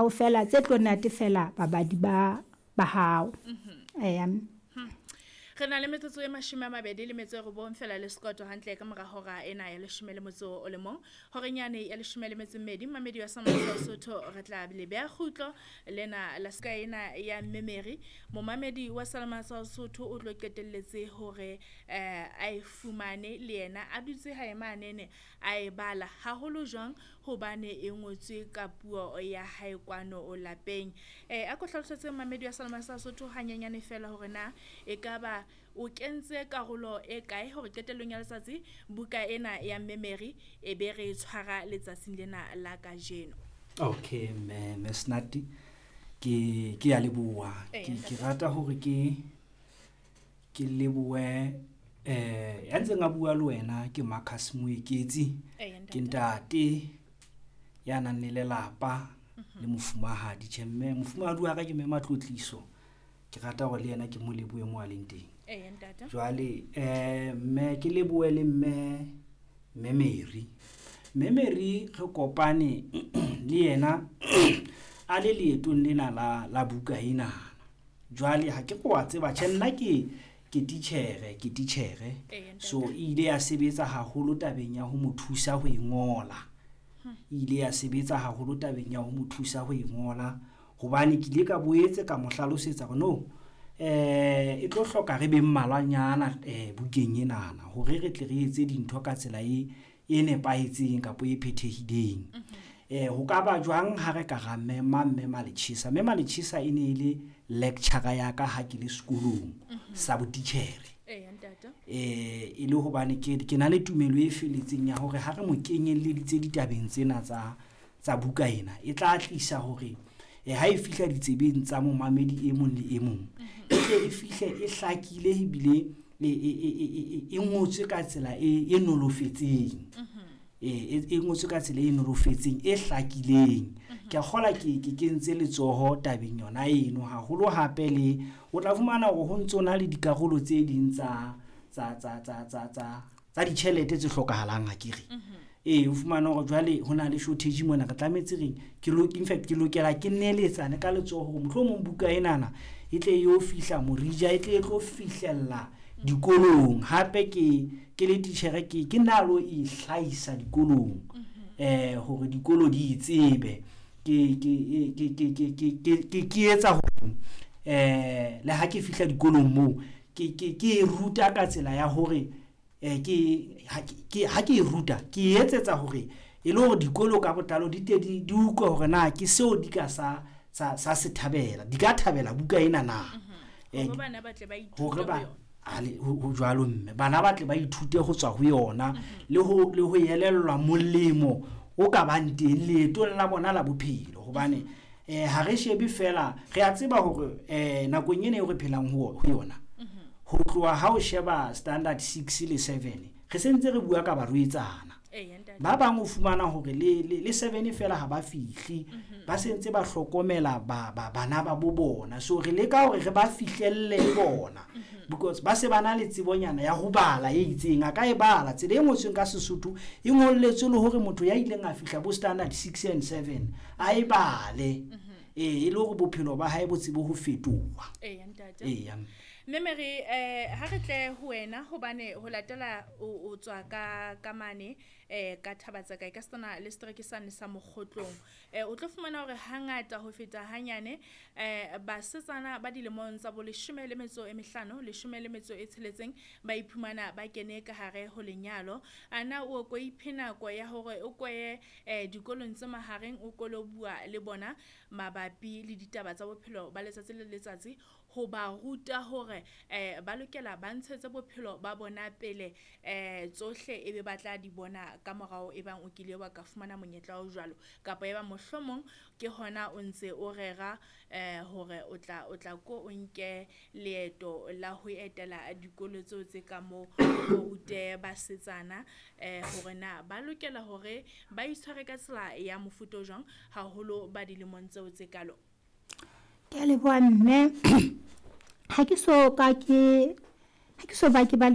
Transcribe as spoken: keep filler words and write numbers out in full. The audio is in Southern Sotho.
kaofela tse tlo natefela babadi ba ba hao. Eya. Re na le metsotso e mashome a mabedi le metso e robong fela le sekoto hantle ka mora hora ena ya leshome le motso o le mong. Horeng yane ya leshome le metso e mmedi mmamedi wa Sa Sotho re tla le beha kgutlo lena la ska ena ya Mme Mary. Momamedi wa Salama Sotho o tlo qetelletse hore eh a e fumane le yena a dutse hae manene a e bala haholo jwang hobane e ngotswe ka puo ya hae kwano o lapeng. Eh a ko hlalosetse mmamedi wa Salama Sotho hanyenyane fela hore na e ka ba o kentse karolo e kae hore qetellong ya letsatsi buka ena ya Mme Mary e be re e tshwara letsatsing lena la kajeno. Okay, mme mme Snati, ke ke ya leboha. Ee, Ke ke ntate. rata hore ke ke lebohe eh ya ntseng a bua le wena ke Marcus Moeketsi. Ee, Ke ntate. ntate ya nang le lelapa le mofumahadi. Tjhe mme mofumahadi wa ka ke mme Matlotliso. Ke rata hore le yena ke mo lebohe mo a leng teng. Ee, ntate. Jwale eh mme ke lebohe le mme mme Mary. Mme Mary re kopane le yena a le leetong lena la la buka ena. Jwale ha ke re wa tseba tjhe nna ke ke titjhere ke titjhere. Ee, ntate. So e ile ya sebetsa haholo tabeng ya ho mo thusa ho e ngola. E ile ya sebetsa haholo tabeng ya ho mo thusa ho e ngola hobane ke ile ka boetse ka mo hlalosetsa hore no eh e tlo hloka re be mmalwanyana eh bukeng enana hore re tle re etse dintho ka tsela e e nepahetseng kapa e phethehileng. Eh ho ka ba jwang ha re ka ra mema mme Maletjhesa. Mme Maletjhesa e ne e le lecturer ya ka ha ke le sekolong sa botitjhere. Ee, ntate. Eh e le hobane ke ke na le tumelo e felletseng ya hore ha re mo kenyelleditse ditabeng tsena tsa tsa buka ena e tla tlisa hore eh ha e fihla ditsebeng tsa momamedi e mong le e mong e tle e fihle e hlakile ebile e e e e e ngotswe ka tsela e e nolofetseng. E e ngotswe ka tsela e nolofetseng e hlakileng. Ke a kgola ke ke kentse letsoho tabeng yona eno haholo hape le o tla fumana hore ho ntso na le dikarolo tse ding tsa tsa tsa tsa tsa tsa tsa ditjhelete tse hlokahalang akere. Ee, o fumana hore jwale ho na le shortage mona re tlametse reng ke lo in fact ke lokela ke neletsane ka letsoho hore mohlomong buka enana e tle e yo fihla Morija e tle e tlo fihlella dikolong. Hape ke ke le titjhere ke ke na lo e hlahisa dikolong eh hore dikolo di e tsebe. Ke ke ke ke ke ke ke ke ke etsa hore eh le ha ke fihla dikolong moo ke ke ke e ruta ka tsela ya hore eh ke ha ke ha ke e ruta ke etsetsa hore e le hore dikolo ka botlalo di te di di utlwe hore na ke seo di ka sa sa sa se thabela di ka thabela buka ena na. Eh, Hore bana ba tle ba ithute hore ho ba yona. a le ho ho jwalo mme bana ba tle ba ithute ho tswa ho yona le ho le ho elellwa molemo o ka bang teng leetong la bona la bophelo hobane eh ha re shebe fela re a tseba hore eh nakong ena eo re phelang ho ho yona ho tloha ha o sheba standard six le seven re sentse re bua ka barwetsana. Ee, ntate. Ba bang o fumana hore le le le seven fela ha ba fihle ba sentse ba hlokomela ba ba bana ba bo bona. So re leka hore re ba fihlelle le bona because ba se ba na le tsebonyana ya ho bala e itseng a ka e bala tsela e ngotsweng ka Sesotho e ngolletswe le hore motho ya ileng a fihla bo standard six and seven a e bale eh e le hore bophelo ba hae bo tsebe ho fetoha. Ee, ntate. Eya. Mme Mary eh ha re tle ho wena hobane ho latela o o tswa ka ka mane eh ka Thabatsaka e ka sena le setereke sane sa Mokgotlong. Eh o tlo fumana hore hangata ho feta hanyane eh basetsana ba dilemong tsa bo leshome le metso e mehlano leshome le metso e tsheletseng ba iphumana ba kene ka hare ho lenyalo. Ana o ko iphe nako ya hore o koye eh dikolong tse mahareng o ko lo bua le bona mabapi le ditaba tsa bophelo ba letsatsi le letsatsi ho ba ruta hore eh ba lokela ba ntshetse bophelo ba bona pele eh tsohle e be ba tla di bona ka morao e bang o kile wa ka fumana monyetla o jwalo kapa e ba mohlomong ke hona o ntse o rera eh hore o tla o tla ko o nke leeto la ho etela dikolo tseo tse ka moo o rute basetsana eh hore na ba lokela hore ba itshware ka tsela ya mofuta o jwang haholo ba dilemong tseo tse kalo. Ke a leboha mme. Ha ke so ka ke ha ke so ba ke ba le